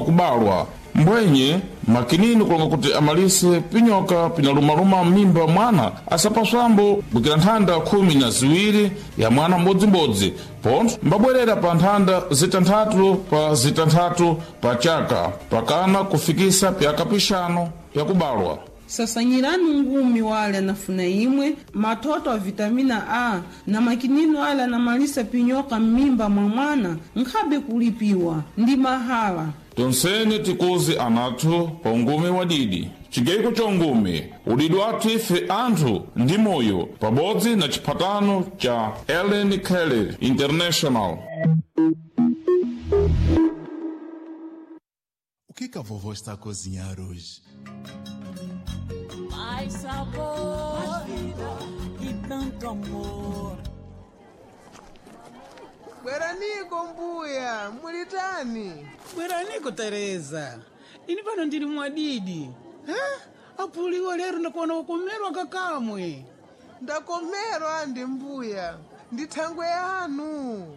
pakubalwa. Mbwenye makinini kulonga kuti amalise pinyoka pinalumaluma m'mimba mwana asapaswambo bwikira nthanda 12 ya mwana mbodzimbodzi, pontho mbabwerera pa nthanda zitanthatu pa zitanthatu pa chaka pakana kufikisa pyaka pixanu pyakubalwa. Sasanyirani ungumi wale anafuna imwe mathoto a vitamina A na makinino ale anamalisa pinyoka m'mimba mwa mwana nkhabe kulipiwa ndi mahala. Tonsene tikuzi anathu pa ungumi wa didi. Chigeiko cha ungumi udidi wathu ife anthu ndi moyo pabodzi na chiphatano cha Ellen Kelly International. O que que a vovó está a cozinhar hoje? Mais sabor, mais vida e tanto amor. Bweraniko mbuya, mulitani? Bweraniko Tereza, ini pano ndili mwadidi ha? Apuliwo lero ndakuona ukomerwa kakamwe. Ndakomerwa andi mbuya, ndi thangwe yanu.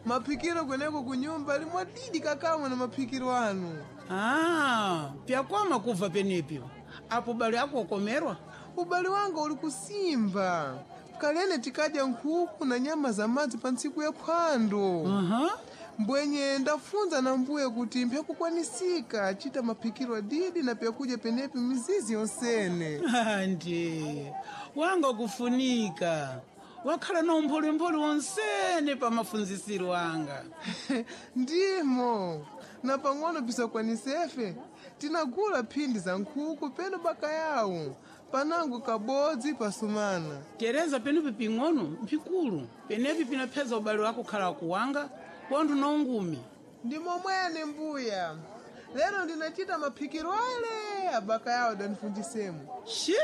Maphikiro kweneko kunyumba limwadidi kakamwe na maphikiro anu. Ah, pyakwama kubva penepyo apo bali ako ukomerwa. Ubali wanga uli kusimba. Kalene tikadya nkhuku na nyama za madzi pa ntsiku ya phwando. Aha. Mbwenye ndafunza na mbuye kuti mphyakukwanisika achita maphikiro adidi na pyakudya penepi mizizi yonsene. Andi wanga kufunika wakhala na umpholemphole wonsene pa mafunzisiro anga. Ndimo na pang'ono pisakwanisefe tinagula phindi za nkhuku peno bakayawo panango kabodzi pasumana. Tereza, penepi ping'ono mpikulu penepi pinapheza ubale wako khala kuwanga pontho na ungumi. Ndi momwene mbuya, lero ndinachita maphikiro ale abaka yawo danifundisemo. Shi,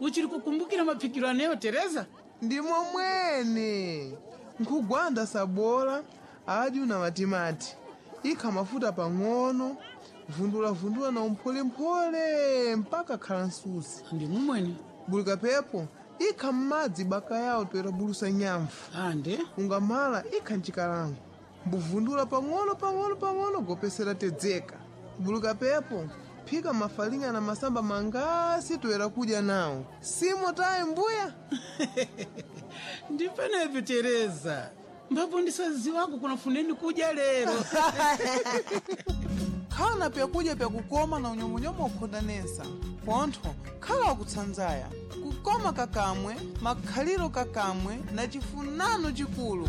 uchili kukumbukira maphikiro aneyo Tereza? Ndi momwene nkhugwanda sabola adyu na matimati ikha mafuta pang'ono, vundulavundula na umpholemphole mpaka khala nsusi. Ndi mumwene. Bulika pepo ikha m'madzi baka yawo toera bulusa nyamfu. Ande ungamala ikha mchikalango mbuvundula pang'ono pang'ono pang'ono gopesera tedzeka. Buluka pepo phika mafalinga na masamba mangasi toera kudya nawo simo tayi mbuya. Ndi penepi Tereza, mbapo ndisaziwako kunafuneni kudya lero. Khala na pyakudya pyakukoma na unyomunyomu wakhondanesa pontho khala wakutsanzaya kukoma kakamwe makhaliro kakamwe na chifunano chikulu.